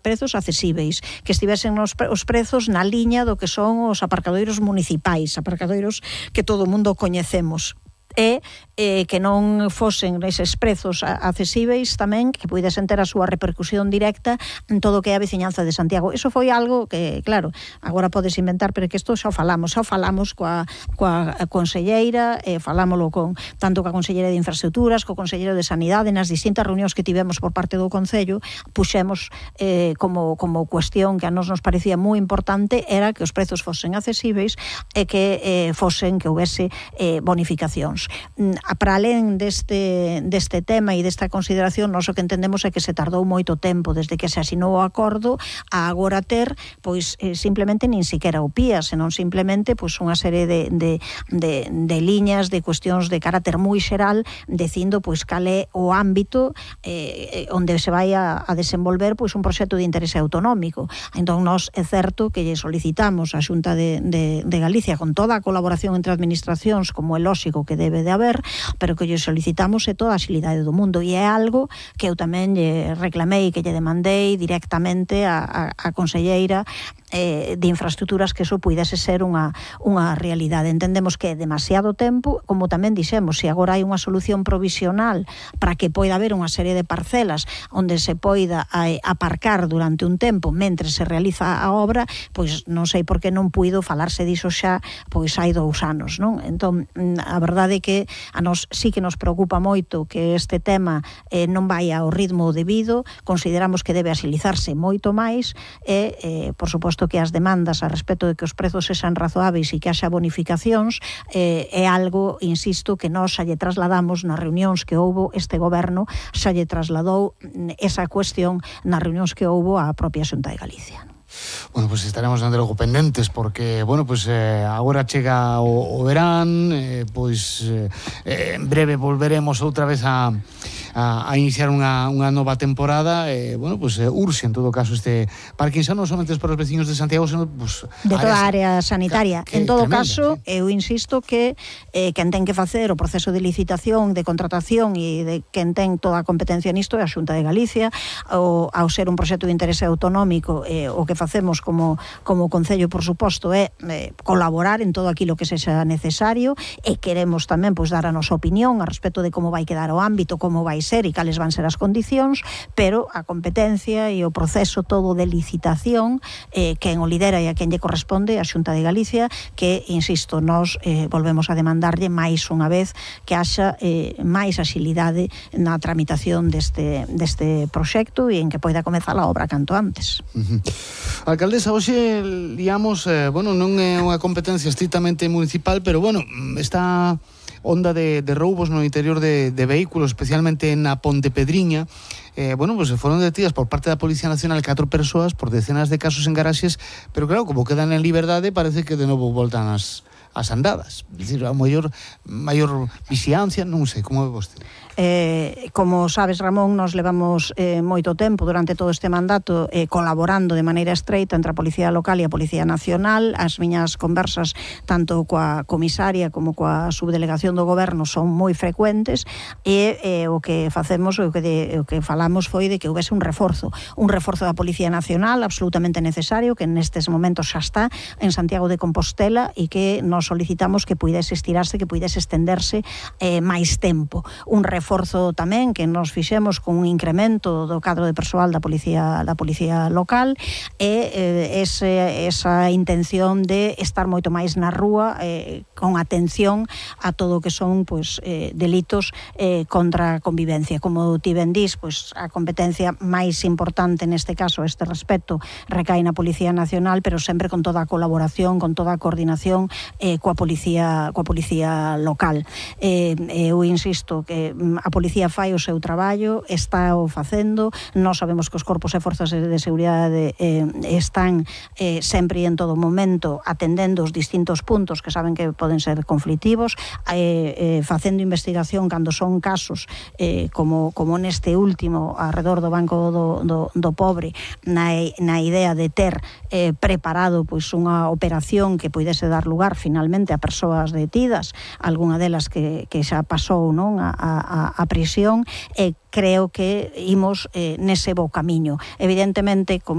prezos accesíveis, que estivesen os prezos na liña do que son os aparcadoiros municipais, aparcadoiros que todo o mundo coñecemos, e que non fosen eses prezos accesíveis tamén, que puidesen ter a súa repercusión directa en todo o que é a veciñanza de Santiago. Iso foi algo que, claro, agora podes inventar, pero que isto xa falamos coa conselleira, falámoslo tanto coa conselleira de Infraestructuras, co conselleiro de Sanidade, nas distintas reunións que tivemos por parte do Concello, puxemos como cuestión que a nos parecía moi importante era que os prezos fosen accesíveis e que houvese bonificacións. Para alén deste tema e desta consideración, nós o que entendemos é que se tardou moito tempo desde que se asinou o acordo a agora ter, pois, simplemente nin siquiera o PIA, senón simplemente pois unha serie de liñas, de cuestións de carácter moi xeral, dicindo pois cal é o ámbito onde se vai a desenvolver pois un proxecto de interese autonómico. Entón, nós é certo que lle solicitamos á Xunta de Galicia, con toda a colaboración entre administracións, como é lóxico que debe de haber, pero que lle solicitamos toda a axilidade do mundo, e é algo que eu tamén lle reclamei, que lle demandei directamente a conselleira de Infraestructuras, que eso puidese ser unha realidade. Entendemos que é demasiado tempo, como tamén dixemos, se agora hai unha solución provisional para que poida haber unha serie de parcelas onde se poida aparcar durante un tempo mentre se realiza a obra, pois non sei por que non puido falarse diso xa, pois hai 2 anos, non? Entón, a verdade é que a nos sí que nos preocupa moito que este tema non vai ao ritmo debido, consideramos que debe axilizarse moito máis e, por suposto, que as demandas a respecto de que os prezos sexan razoáveis e que haxa bonificacións é algo, insisto, que nós xa lle trasladamos nas reunións que houbo este goberno, xa lle trasladou esa cuestión nas reunións que houbo a propia Xunta de Galicia. Bueno, pues estaremos dende logo pendentes porque, bueno, pues agora chega o verán, en breve volveremos outra vez a iniciar unha nova temporada, bueno, pues urxe en todo caso este parking xa non somente para os veciños de Santiago, senón pues, de toda a área sanitaria. En todo caso, sí. Eu insisto que quen ten que facer o proceso de licitación, de contratación e de quen ten toda a competencia nisto é a Xunta de Galicia, ao ser un proxecto de interese autonómico, o que facemos como Concello, por suposto, é colaborar en todo aquilo que sexa necesario, e queremos tamén pois dar a nosa opinión a respecto de como vai quedar o ámbito, como vai ser e cales van ser as condicións, pero a competencia e o proceso todo de licitación, quen o lidera e a quen lle corresponde a Xunta de Galicia, que, insisto, nós volvemos a demandarlle máis unha vez que haxa máis axilidade na tramitación deste proxecto e en que poida comezar a obra canto antes. Alcaldesa, hoxe digamos, bueno, non é unha competencia estrictamente municipal, pero bueno, esta onda de roubos no interior de vehículos, especialmente na Ponte Pedriña, bueno, pues foron detidas por parte da Policía Nacional 4 persoas por decenas de casos en garaxes, pero claro, como quedan en liberdade, parece que de novo voltan as andadas. É dicir, a maior vixiancia, non sei, como é vostede? Como sabes, Ramón, nos levamos moito tempo durante todo este mandato colaborando de maneira estreita entre a Policía Local e a Policía Nacional. As miñas conversas tanto coa comisaria como coa subdelegación do goberno son moi frecuentes e o que facemos, o que falamos foi de que houvese un reforzo da Policía Nacional absolutamente necesario, que nestes momentos xa está en Santiago de Compostela e que nos solicitamos que puidese estirarse, que puidese estenderse máis tempo. Un reforzo tamén que nos fixemos con un incremento do cadro de persoal da Policía Local e esa intención de estar moito máis na rúa con atención a todo o que son delitos contra a convivencia. Como ti ben dís, a competencia máis importante neste caso, este respecto, recae na Policía Nacional, pero sempre con toda a colaboración, con toda a coordinación coa Policía Local. Eu insisto que a Policía fai o seu traballo, está o facendo, nós sabemos que os corpos e forzas de seguridade están sempre e en todo momento atendendo os distintos puntos que saben que poden ser conflitivos, facendo investigación cando son casos como neste último arredor do Banco do Pobre, na idea de ter preparado unha operación que puidese dar lugar finalmente finalmente a persoas detidas, algunha delas que xa pasou, non, a prisión, e creo que imos nese bo camiño. Evidentemente, como